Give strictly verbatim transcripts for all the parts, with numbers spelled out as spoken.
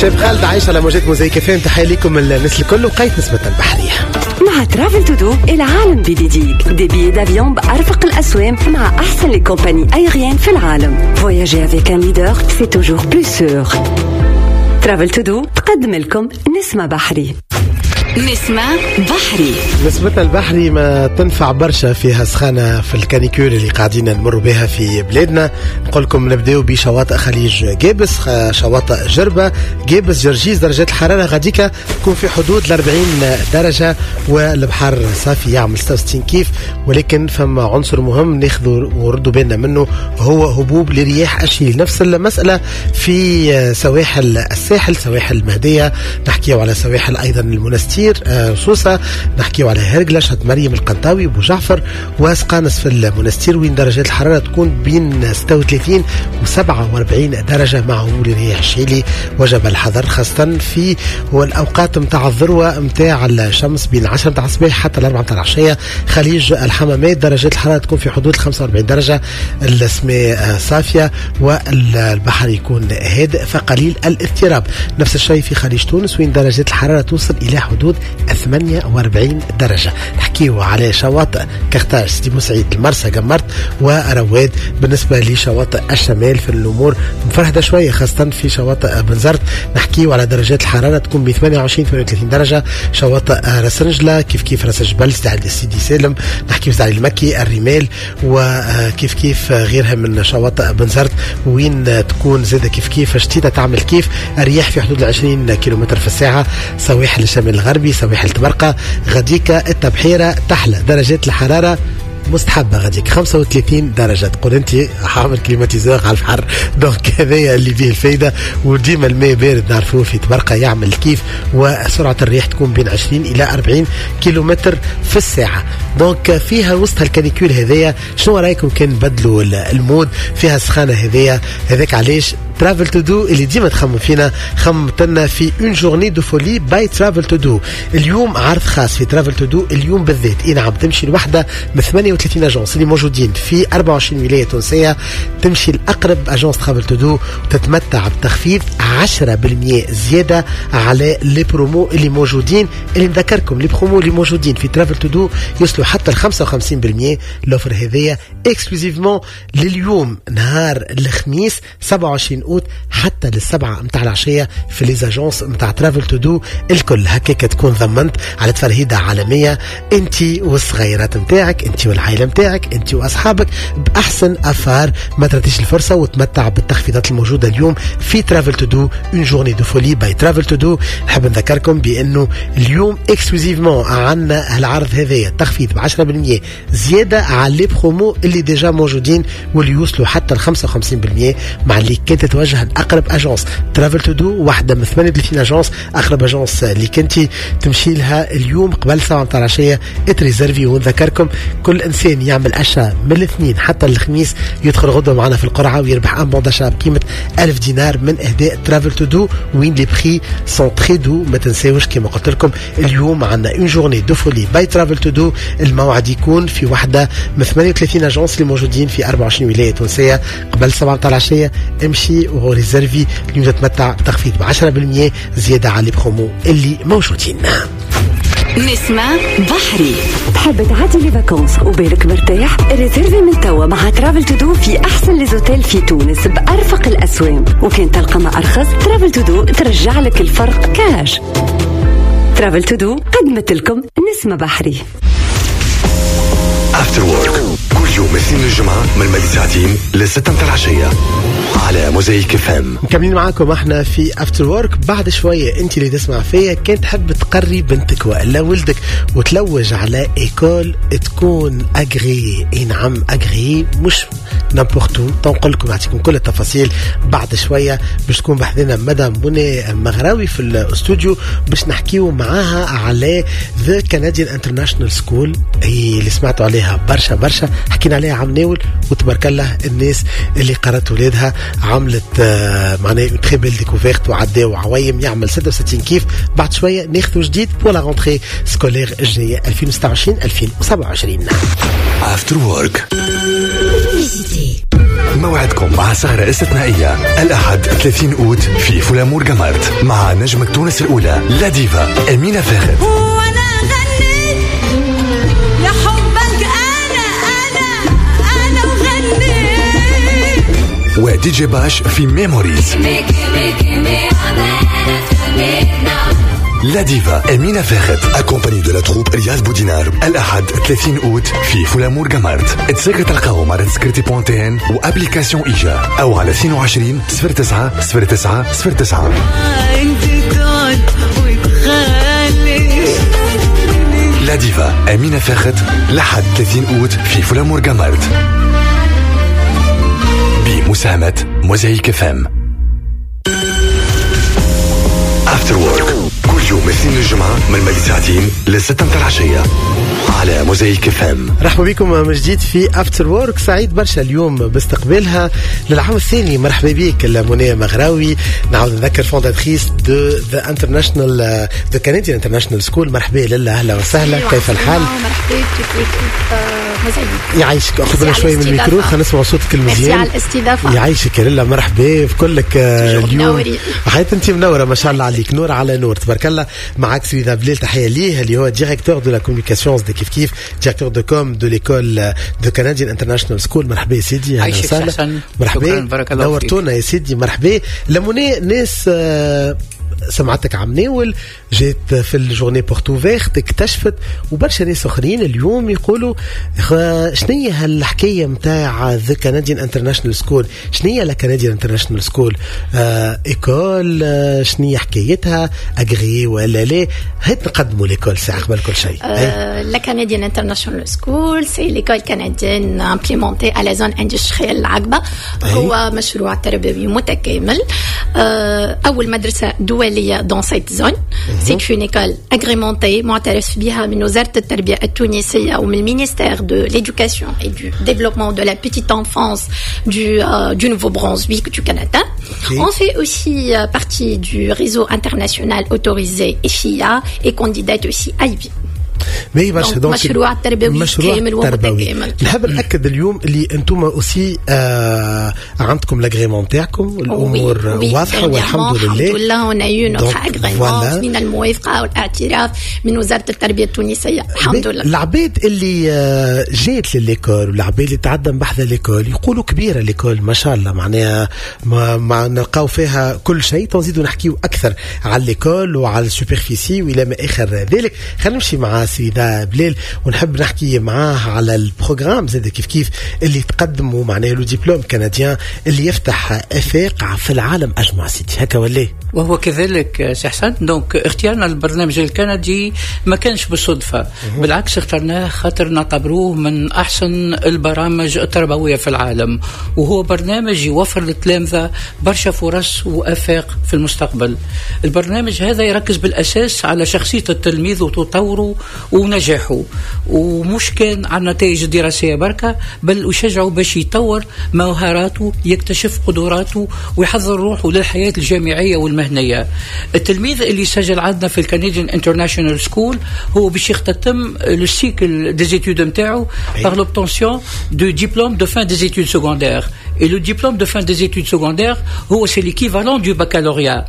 شاب خالد عايش على موجات موزايك اف ام. تحية لكم الناس الكل وقيت نسمة البحرية. مع Travel To Do، العالم بين يديك. des billets d'avion بأرفق الأسوام مع أحسن les compagnies aériennes في العالم. voyager avec un leader، c'est toujours plus sûr. Travel To Do تقدم لكم نسمة بحري. نسمة بحري. نسمتنا البحري ما تنفع برشا فيها سخانة في ال canicule اللي قاعدين نمر بها في بلادنا. نقول لكم نبداو بشواطئ خليج قابس، شواطئ جربة، قابس، جرجيس. درجات الحرارة غاديكا تكون في حدود ال أربعين درجة والبحر صافي يعمل ستة وستين كيف، ولكن فما عنصر مهم ناخذ وردوا بالنا منه هو هبوب لرياح الشيل. نفس المسألة في سواحل الساحل، سواحل المهدية، نحكيو على سواحل أيضا المنستير، سوسة، نحكيو على هرقلة، شط مريم، القنطاوي، بو جعفر وسقانس في المنستير، وين درجات الحرارة تكون بين ستة وثلاثين و سبعة وأربعين درجة مع هبوب الرياح الشيلي. وجب الحذر خاصة في والأوقات متاع الذروة متاع الشمس بين عشرة متاع الصباح حتى الأربعة متاع العشية. خليج الحمامات درجات الحرارة تكون في حدود خمسة وأربعين درجة، السماء صافية والبحر يكون هادئ فقليل الاضطراب. نفس الشيء في خليج تونس وين درجات الحرارة توصل إلى حدود ثمانية وأربعين درجة. نحكيو على شواطئ كختاج، سيدي بوسعيد، المرسى، قمرت ورواد. بالنسبة لشواطئ الشمال في الأمور مفرهدة شوية خاصة في شواطئ بنزرت، نحكيو على درجات الحرارة تكون ب ثمانية وعشرين ثمانية وثلاثين درجة. شواطئ راس رجلة كيف كيف، راس جبل، سيدي سالم، نحكيو على المكي، الرمال، وكيف كيف غيرها من شواطئ بنزرت وين تكون زادة كيف كيف شتيتة تعمل كيف، الرياح في حدود العشرين كيلومتر في الساعة. سواحل الشمال الغربي، سواحل تبرقة، غاديكا التبحيرة تحلى درجات الحرارة مستحبة غاديك خمسة وثلاثين درجة. تقول انت حامل climatiseur على البحر، donc هذايا اللي فيه الفايدة. وديما الماء بارد نعرفوه في تبرقة يعمل كيف، وسرعة الريح تكون بين عشرين إلى أربعين كيلومتر في الساعة. donc فيها وسط ال canicule هذايا شنو رايكم كان نبدلوا ال mode فيها السخانة هذايا؟ هذاك علاش Travel To Do اللي ديما تخمم فينا خممتنا في une journée de folie by Travel To Do. اليوم عرض خاص في Travel To Do اليوم بالذات، اي نعم، تمشي لوحده من ثمانية وثلاثين agences اللي موجودين في أربعة وعشرين ولاية تونسية، تمشي لاقرب agence Travel To Do وتتمتع بتخفيض عشرة بالمية زيادة على les promos اللي موجودين. اللي نذكركم les promos اللي موجودين في Travel To Do يوصلوا حتى ل خمسة وخمسين بالمية. l'offre هذيا exclusivement لليوم نهار الخميس سبعة وعشرين اوت حتى للسبعة متاع العشية في les agences متاع Travel To Do الكل. هكاك تكون ضمنت على تفرهيدة عالمية انت والصغيرات متاعك، انت والعائلة متاعك، انت واصحابك باحسن affaire. ما ترتيش الفرصة وتمتع بالتخفيضات الموجودة اليوم في Travel To Do، une journée de folie by Travel To Do. نحب نذكركم بانه اليوم exclusivement عندنا العرض هذايا تخفيض ب عشرة بالمية زيادة على les promos اللي déjà موجودين واللي يوصلوا حتى ل خمسة وخمسين بالمية، مع اللي كنت تتوجه لاقرب agence Travel To Do، واحدة من ثمانية وثلاثين agence. اقرب agence اللي كنتي تمشي لها اليوم قبل سبعة متاع العشية تريزيرفي. ونذكركم كل انسان يعمل achat من الاثنين حتى الخميس يدخل غدوه معنا في القرعة ويربح un bon d'achat بقيمة ألف دينار من اهداء Travel To Do، وين les prix sont très doux. ما تنساوش كما قلت لكم اليوم عندنا une journée de folie by Travel To Do. الموعد يكون في واحدة من ثمانية وثلاثين agences اللي موجودين في أربعة وعشرين ولاية تونسية قبل سبعة متاع العشية. امشي وريزيرفي اليوم تتمتع بتخفيض ب عشرة بالمية زيادة على les promos اللي موجودين. نسمة بحري. تحب تعدي les vacances وبالك مرتاح؟ ريزيرفي من توا مع Travel To Do في احسن les hôtels في تونس بارفق الاسوام، وكان تلقى ما ارخص Travel To Do ترجع لك الفرق cash. Travel To Do قدمت لكم نسمة بحري. After Work كل يوم اثنين الجمعة من مالي ساعتين لستة متاع العشية على موزايك اف ام. مكملين معاكم احنا في After Work. بعد شوية انت اللي تسمع فيا كان تحب تقري بنتك والا ولدك وتلوج على école تكون agréée، اي نعم agréée مش n'importe où. تنقل لكم نعطيكم كل التفاصيل بعد شوية. باش تكون بحذنا مدام منى مغراوي في الاستوديو باش نحكيو معاها على The Canadian International School اللي سمعتوا عليها برشا برشا، حكينا عليها عام ناول وتبارك الله الناس اللي قرات ولادها عملت معناها une très belle découverte وعداو عوايم يعمل ستة وستين كيف. بعد شوية ناخذ جديد pour la rentrée scolaire الجاية ألفين وستة وعشرين ألفين وسبعة وعشرين. After Work. موعدكم مع سهرة استثنائية الأحد ثلاثين أوت في فولامور قمرت مع نجمة تونس الأولى la diva أمينة فاخت. وانا غنيت لحبك انا انا انا وغنيت ودي جي باش في Memories. la diva أمينة فاخت accompagnée de la troupe رياض بودينار الأحد ثلاثين أوت في فولامور قمرت. تسكر تلقاهم على تسكرتي point tn و application إيجا أو على اثنين وعشرين صفر تسعة صفر تسعة صفر تسعة. انت تقعد وتخلي. la diva أمينة فاخت لحد ثلاثين أوت في فولامور قمرت بمساهمة موزايك FM. After Work كل يوم اثنين الجمعة من مالي ساعتين للستة متاع العشية على موزايك FM. رحبوا بكم من جديد في After Work. سعيد برشا اليوم باستقبالها للعام الثاني. مرحبا بك منى مغراوي، نعاود نذكر fondatrice de the International the Canadian International School. مرحبا لاله، اهلا وسهلا، كيف الحال؟ مرحبا بك موزايك. يعيشك، اخذنا شوي من الميكرو خلينا نسمع صوتك المزيان. ميرسي على الاستضافة. يعيشك يا لاله، مرحبا بكلك اليوم. حياتي انت منورة ما شاء الله عليك، نور على نور تبارك الله. معك سيدي بلال، تحية ليه اللي هو directeur de la communication de كيف كيف directeur de com de l'école de Canadian International School. مرحبا يا سيدي، اهلا وسهلا. مرحبا، نورتونا يا سيدي، مرحبا. لموني ناس سمعتك عم ناول جات في ال journée portes ouvertes اكتشفت، وبرشا ناس اخرين اليوم يقولوا شنية هالحكايه نتاع the Canadian International School، شنية la Canadian International School école، شنية حكايتها، agréée ولا لا؟ هات نقدموا l'école ساعة قبل كل شيء. la Canadian International School c'est l'école canadienne implémentée à la zone industrielle العقبة. هو مشروع تربوي متكامل، اول مدرسه دولية dans cette zone. C'est une école agrémentée معترف بها من وزارة التربية التونسية ومن ministère de l'éducation et du développement de la petite enfance du, euh, du Nouveau-Brunswick du Canada. Okay. On fait aussi partie du réseau international autorisé F I A et candidate aussi I B. باهي برشا. donc مشروع تربوي مشروع كامل ومتكامل. نحب ناكد اليوم اللي انتم aussi آه عندكم l'agrément تاعكم، الامور واضحة والحمد لله. الحمد لله on a eu notre agrément من الموافقة والاعتراف من وزارة التربية التونسية، الحمد لله. العباد اللي جات ل l'école والعباد اللي تعدم بحذا l'école يقولوا كبيرة l'école ما شاء الله، معناها ما, ما نلقاو فيها كل شيء. تنزيدوا نحكيو اكثر على l'école وعلى ال superficie والى ما اخر ذلك. خلينا نمشي مع سيدة بلال ونحب نحكي معاه على ال programme زاد كيف كيف اللي تقدموا، معناه le diplôme canadien اللي يفتح افاق في العالم اجمع سيدي، هكا ولا؟ وهو كذلك سي حسن. donc اختيارنا للبرنامج الكندي ما كانش بالصدفة، بالعكس اخترناه خاطر نعتبروه من احسن البرامج التربوية في العالم، وهو برنامج يوفر للتلامذه برشا فرص وافاق في المستقبل. البرنامج هذا يركز بالاساس على شخصية التلميذ وتطوره ونجاحه، ومش كان على النتائج الدراسية بركة، بل يشجعه باش يطور مهاراته، يكتشف قدراته، ويحضر روحه للحياة الجامعية والمهنية. التلميذ اللي سجل عندنا في ال Canadian International School هو باش يختتم le cycle des études نتاعو par l'obtention du diplôme de fin des études secondaires. Et le diplôme de fin des études secondaires, c'est l'équivalent du baccalauréat.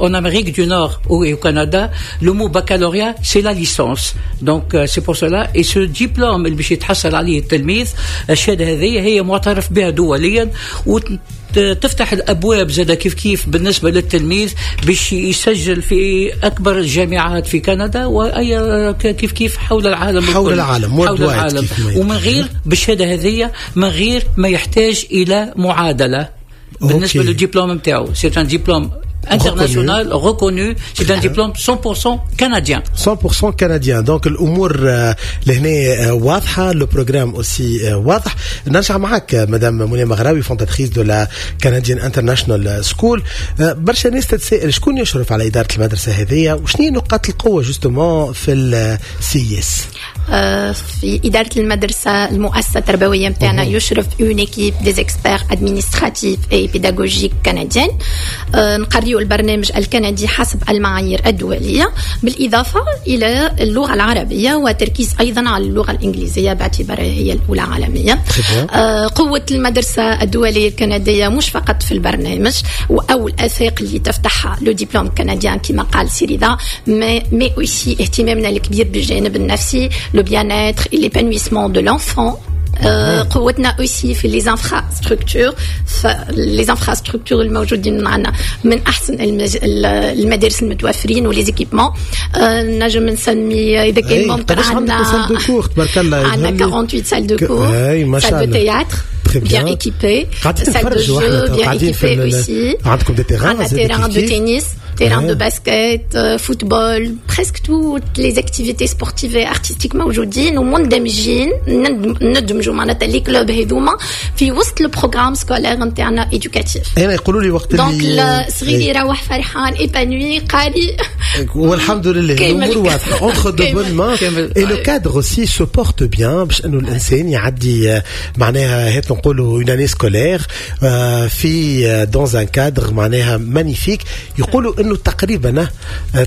En Amérique du Nord et au Canada, le mot baccalauréat, c'est la licence. Donc c'est pour cela. Et ce diplôme اللي باش يتحصل عليه التلميذ، الشهادة هذه هي معترف بها دوليا وتفتح الابواب زاد كيف كيف بالنسبة للتلميذ باش يسجل في اكبر الجامعات في كندا واي كيف كيف حول العالم، حول العالم، حول العالم، ومن غير بالشهادة هذه من غير ما يحتاج الى معادلة بالنسبة للدبلوم نتاعو. c'est un diplôme international reconnu, c'est un diplôme cent pour cent canadien. cent pour cent canadien. Donc الامور لهنا واضحة، le programme aussi واضح. نرجع معك مدام منى مغراوي fondatrice de la Canadian International School. برشا ناس تتساءل شكون يشرف على ادارة المدرسة هذه وشنو نقاط القوة justement في ال CIS؟ في إدارة المدرسة، المؤسسة التربوية متاعنا، يشرف une équipe des experts administratifs et pédagogiques canadiens. نقريو البرنامج الكندي حسب المعايير الدولية، بالإضافة إلى اللغة العربية وتركيز أيضا على اللغة الإنجليزية باعتبارها هي الأولى عالميا. قوة المدرسة الدولية الكندية مش فقط في البرنامج أو الآفاق اللي تفتحها le diplôme canadien كما قال سي رضا، mais mais aussi اهتمامنا الكبير بالجانب النفسي، le bien-être et l'épanouissement de l'enfant. قوتنا aussi في les infrastructures، les infrastructures الموجودين معنا من احسن المدارس المتوفرين و les équipements. نجم نسمي اذا كان ممكن، عندنا salles de cours تبارك الله. عندنا ثمانية وأربعين salles de cours، salle de théâtre bien équipée، salle de jeux bien équipée aussi. عندكم des terrains؟ عندنا terrain de tennis، terrain de basket، football، presque toutes les activités sportives et artistiques موجودين ومندمجين، ندمجوا معناتها les clubs هذوما في وسط ال programme scolaire نتاعنا éducatif. انا يقولوا لي وقت اللي donc الصغير يروح فرحان، épanoui، قاري. والحمد لله، الامور واضحه، entre de bonnes mains et le cadre aussi se porte bien، باش انه الانسان يعدي معناها هات نقولوا une année scolaire في dans un cadre معناها magnifique. يقولوا انه تقريبا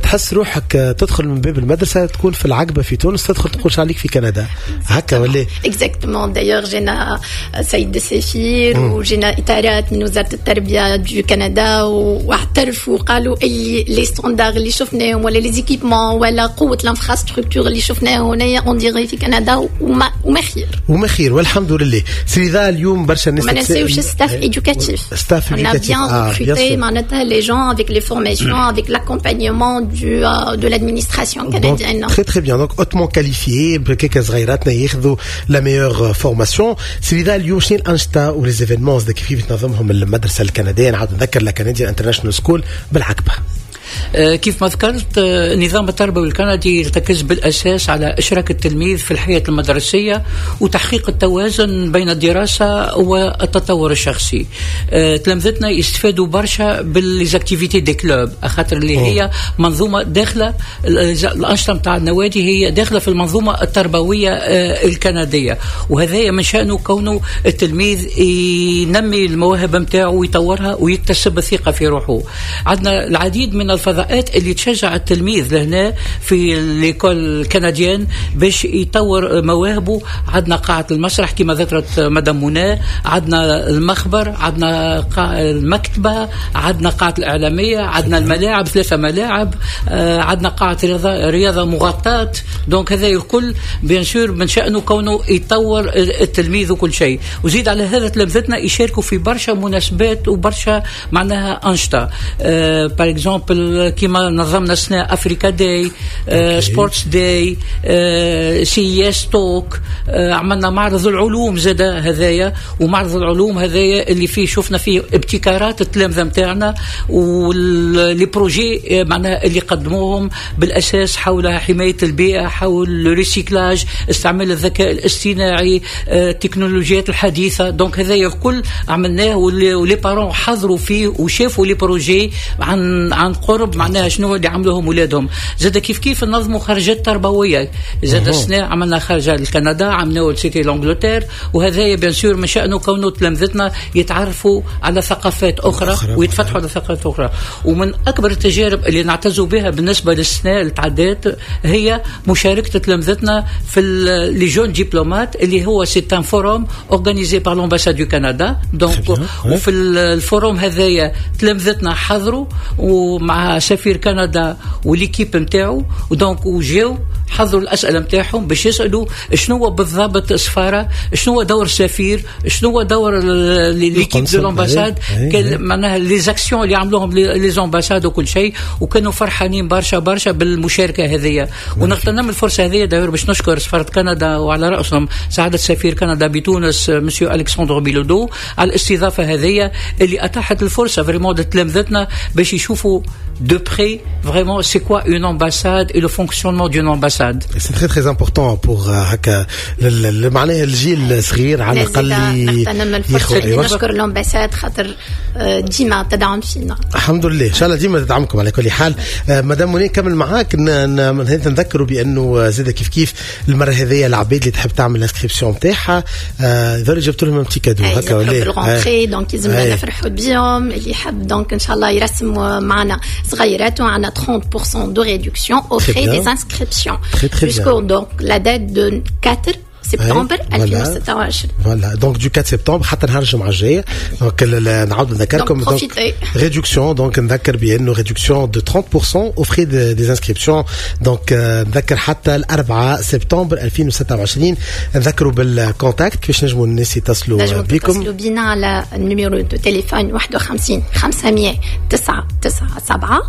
تحس روحك تدخل من باب المدرسه تكون في العقبه في تونس، تدخل تقولش عليك في كندا، هكا ولا؟ exactement. d'ailleurs جينا سيد السفير وجينا اطارات من وزاره التربيه du Canada واعترفوا، قالوا اللي les standards اللي شفناهم ولا les équipements ولا قوه l'infrastructure اللي شفناها هنايا on dirait في كندا وما وما خير. وما خير، والحمد لله. سي رضا، اليوم برشا الناس ما ننساوش staff éducatif. staff éducatif. on a bien recruté معناتها les gens avec les formations، avec l'accompagnement du de l'administration canadienne. Donc, très très bien. Donc hautement qualifié، بكيكا صغيراتنا ياخذوا la meilleure formation. سي رضا، اليوم شنو الانشطه و les événements كيف تنظمهم المدرسه الكنديه؟ نعاود نذكر la Canadian International School بالعقبه. آه، كيف ما ذكرت، آه، النظام التربوي الكندي يرتكز بالأساس على إشراك التلميذ في الحياة المدرسية وتحقيق التوازن بين الدراسة والتطور الشخصي. آه، تلامذتنا يستفادوا برشا بال les activités des clubs، خاطر اللي هي منظومة داخلة، الأنشطة نتاع النوادي هي داخلة في المنظومة التربوية الكندية، وهذا من شأنه كونه التلميذ ينمي المواهب نتاعو ويطورها ويكتسب الثقة في روحه. عندنا العديد من الفضاءات اللي تشجع التلميذ لهنا في l'école canadienne باش يطور مواهبه. عندنا قاعة المسرح كما ذكرت مدام منى، عندنا المخبر، عندنا المكتبة، عندنا قاعة الإعلامية، عندنا الملاعب، ثلاثة ملاعب، آه، عندنا قاعة رياضة، رياضة مغطاة. donc هذا الكل bien sûr من شأنه كونه يطور التلميذ وكل شيء. وزيد على هذا تلامذتنا يشاركوا في برشا مناسبات وبرشا معناها أنشطة، par exemple كيما نظمنا سنة Africa Day، Sports Day، CIS Talk، عملنا معرض العلوم زاد هذايا، ومعرض العلوم هذايا اللي فيه شفنا فيه ابتكارات التلامذه نتاعنا و les projets معناها اللي قدموهم بالاساس حول حمايه البيئه، حول ال recyclage، استعمال الذكاء الاصطناعي، التكنولوجيات الحديثه. donc هذايا الكل عملناه و les parents حضروا فيه وشافوا les projets عن عن قرب، معناها شنو اللي عملوهم ولادهم. زاد كيف كيف نظموا خرجات تربويه زاد، السنه عملنا خرجه لكندا، عملناه c'était l'Angleterre، وهذايا bien sûr من شانه كونه تلامذتنا يتعرفوا على ثقافات اخرى، أخرى ويتفتحوا على ثقافات اخرى. ومن اكبر التجارب اللي نعتزوا بها بالنسبه للسنه اللي تعدات هي مشاركه تلامذتنا في les jeunes diplomates، اللي هو c'est un forum organisé par l'ambassade du Canada. donc وفي ال forum هذايا تلامذتنا حضروا ومع سفير كندا و l'équipe نتاعو، و donc وجاو حضروا الاسئله نتاعهم باش يسالوا شنو هو بالضبط السفاره، شنو هو دور السفير، شنو هو دور l'équipe de l'ambassade، معناها les actions اللي عملوهم les ambassades وكل شيء. وكانوا فرحانين برشا برشا بالمشاركه هذه. ونغتنم الفرصه هذه d'ailleurs باش نشكر سفاره كندا وعلى راسهم سعاده سفير كندا بتونس monsieur Alexandre Bilodeau على الاستضافه هذه اللي اتاحت الفرصه vraiment لتلامذتنا باش يشوفوا de près vraiment c'est quoi une ambassade et le fonctionnement d'une ambassade. l'ambassade. C'est très très important pour هكا معناها الجيل الصغير على الاقل. نغتنم الفرصة نشكر l'ambassade خاطر ديما تدعم فينا. الحمد لله، ان شاء الله ديما تدعمكم. على كل حال، مدام منى، نكمل معاك، نذكروا بانه زاد كيف كيف المرة هذيا العباد اللي تحب تعمل l'inscription نتاعها يظهر جبت لهم petit cadeau هكا ولا بال rentrée، donc يلزمنا نفرحوا بيهم. اللي يحب donc ان شاء الله يرسم معنا صغيراته، عندنا trente pour cent de réduction aux frais des inscriptions jusqu'au donc la date de quatre سبتمبر deux mille twenty-six. Voilà, donc du quatre septembre حتى نهار الجمعة الجايه. Donc نعاود نذكركم، donc réduction، donc نذكر بانه réduction de trente pour cent aux frais des inscriptions، donc نذكر حتى ال أربعة سبتمبر deux mille twenty-six. نذكروا بال contact، كيفاش نجموا الناس يتصلوا بكم؟ يتصلوا بينا على ال numéro de téléphone واحد وخمسين خمسمية تسعة تسعة سبعة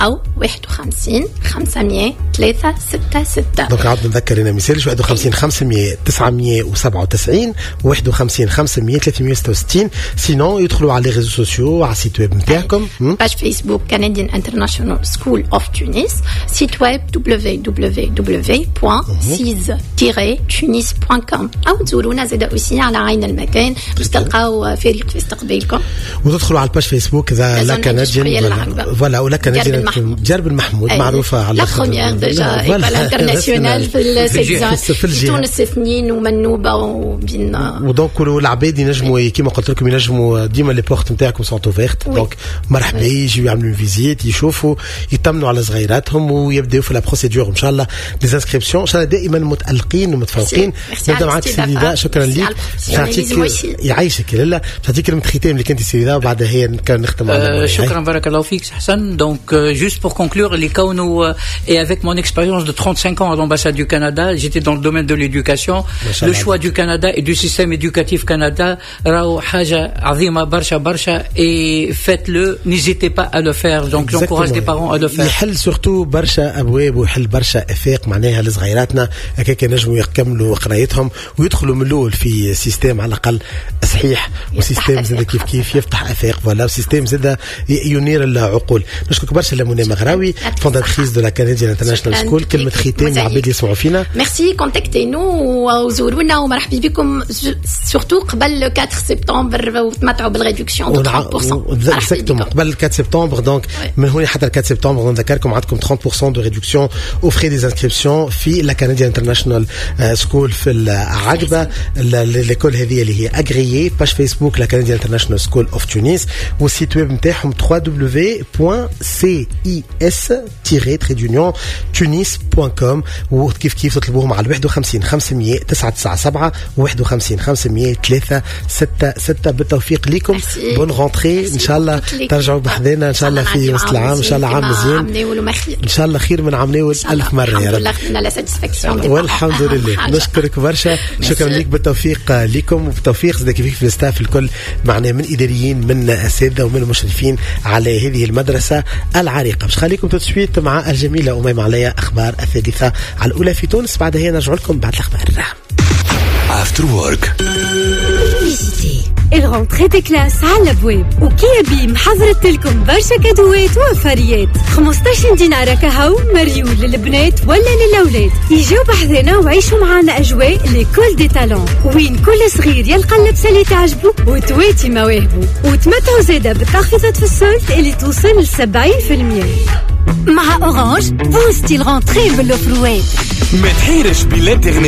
او واحد وخمسين خمسمية ثلاثة ستة ستة. Donc عاود نذكر هنا مثال واحد وخمسين خمسمية تسعمية وسبعة وتسعين، واحد وخمسين خمسمية ثلاثمية وستة وستين. Sinon يدخلوا على les réseaux sociaux، على ال site web نتاعكم. Page Facebook Canadian International School of Tunis، site web w w w point cis tiret tunis point com او تزورونا زاد aussi على عين المكان باش تلقاو فريق في استقبالكم. وتدخلوا على ال page Facebook ذا La Canadienne، voilà، و La Canadienne درب المحمود معروفة على la première déjà école internationale في في تونس، اثنين ومنوبه وبين و donc العباد ينجموا، كيما قلت لكم، ينجموا ديما les portes نتاعكم sont ouvertes، donc مرحبا يجيو يعملوا visite، يشوفوا، يطمنوا على صغيراتهم ويبداو في la procédure ان شاء الله des inscriptions. ان شاء الله دائما متالقين ومتفوقين. نبدا معك سيدي، شكرا لك. نعطيك، يعيشك لاله، نعطيك كلمة ختام اللي كنت سيدي وبعدها هي نختم. على شكرا، بارك الله فيك حسن. Donc juste pour conclure، اللي كونه et avec mon expérience de trente-cinq ans à l'ambassade du Canada، j'étais dans le domaine de l'éducation، le choix du Canada et du système éducatif Canada راهو حاجة عظيمة برشا برشا et faites-le، n'hésitez pas à le faire. Donc j'encourage les parents à le faire. يحل surtout برشا ابواب ويحل برشا افاق معناها لصغيراتنا، هكاك ينجموا يكملوا قرايتهم ويدخلوا من الاول في système على الاقل صحيح و système زاد كيف كيف يفتح افاق، voilà، و système زاد ينير العقول. نشكرك برشا لمنى مغراوي، fondatrice de la Canadian International School. كلمة ختام العباد اللي يسمعوا فينا؟ Merci، contactez-nous وزورونا ومرحبا بكم، surtout قبل أربعة سبتمبر وتمتعوا بال réduction de trente pour cent. Exactement، قبل أربعة سبتمبر. Donc من هنا حتى أربعة سبتمبر نذكركم عندكم trente pour cent de réduction aux frais des inscriptions في la Canadian International School في العقبه. L'école هذه اللي هي agréée، page Facebook la Canadian International School of Tunis وال site web نتاعهم w w w point cis tiret tunis point com. وكيف كيف تطلبوهم على واحد وخمسين خمسمية تسعة تسعة سبعة، واحد وخمسين خمسمية ثلاثة ستة ستة. بالتوفيق لكم، bonne rentrée، ان شاء الله ترجعوا بحذانا ان شاء الله في وسط العام، ان شاء الله عام مزيان، ان شاء الله خير من عام ناول ألف مرة يا رب. والحمد لله. نشكرك برشا، شكرا لك، بالتوفيق لكم وبالتوفيق زاد كيف في ال staff الكل معنا من اداريين، من اساتذه، ومن المشرفين على هذه المدرسة العريقه. باش خليكم tout de suite مع الجميلة اميمة عليا، اخبار الثالثة على الاولى في تونس، بعدها هي نرجع لكم بعد الاخبار. After Work. ال rentrée des classes على الابواب وكيابيم حضرت لكم برشا كادوات وفريات. خمسطاش دينار كهو مريول للبنات ولا للاولاد. يجيو بحذنا وعيشوا معنا اجواء l'école des talents، وين كل صغير يلقى اللبسه اللي تعجبه وتواتي مواهبه، وتمتعوا زاده بالتخفيضات في ال solde اللي توصل ل سبعين في المية. مع Orange، بوستي ال rentrée بالاوفروات. ما تحيرش بالانترنت.